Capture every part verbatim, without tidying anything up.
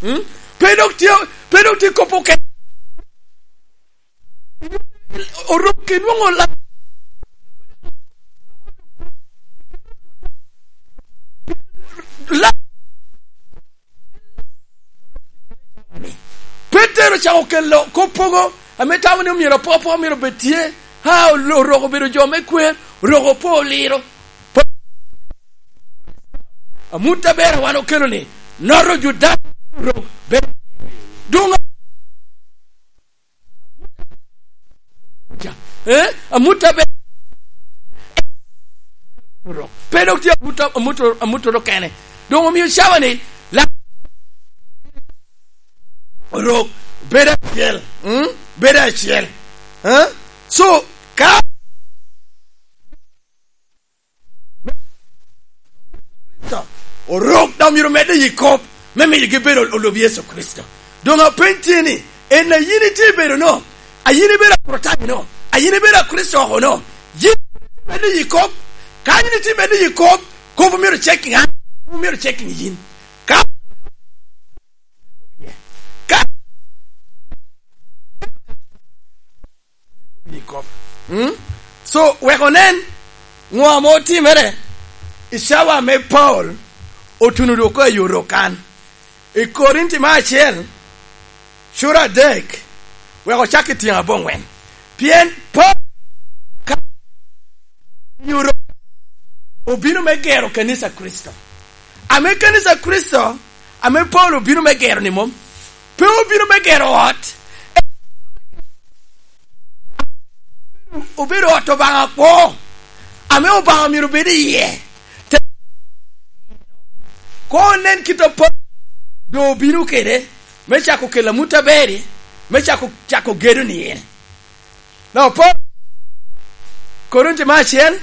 Hmm? Pe dok tye pe dok tye kopo ke orok kinwongo la la Petero ocako kelo kopogo ame tamo ni omyero apokapoka myero obed tye ha orok obedo jo me kwer orok opo oliro Amuta ber wan okelo ni noto Judaya orok bedo dong eh amuta ber orok pe dok tye amuta amuta amuta okene dong omiyo cawa ni la orok bedo acel mm? bedo acel eh? So ka Orok dok myero omedde i kop me miyo gibedo olub Yecu Kricito. Dong apeny tye ni, en ayin itye bedo no? Ayin ibedo Akricitayo no? Ayin ibedo Akricito oko no? Yin itye medde i kop? Ka in itye medde i kop, kop myero checking an, kop myero checking yin. Ka ka So wek onen ngo ma otimere i cawa me Paul otuno doko i Orokan i Korinti me acel cura adek wek ocak ki tyeng abongwen pien Paul ka i Orokan obino me gero kanisa Kricito ame kanisa Kricito ame Paul obino me gero ni mom pe obino me gero ot, obedo ot Obanga kwo, ame Obanga myero obed iye. Ko onen kit ma Paulo dong obino kwede me cako kelo amut aber-ri, me cako cako gedo niye. Now, Paulo, Korinti me acel,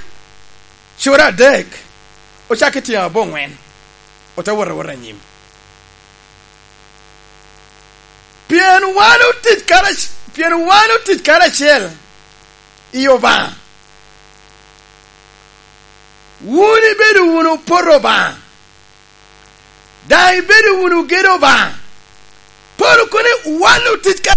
cura adek, ocako i tyeng abongwen, ote wot awota anyim. Pien wan otic pien wan otic karacel i Obanga. Wun ibedo wunu poto Obanga, dang ibedo wunu gedo Obanga. Paulo kono wan otic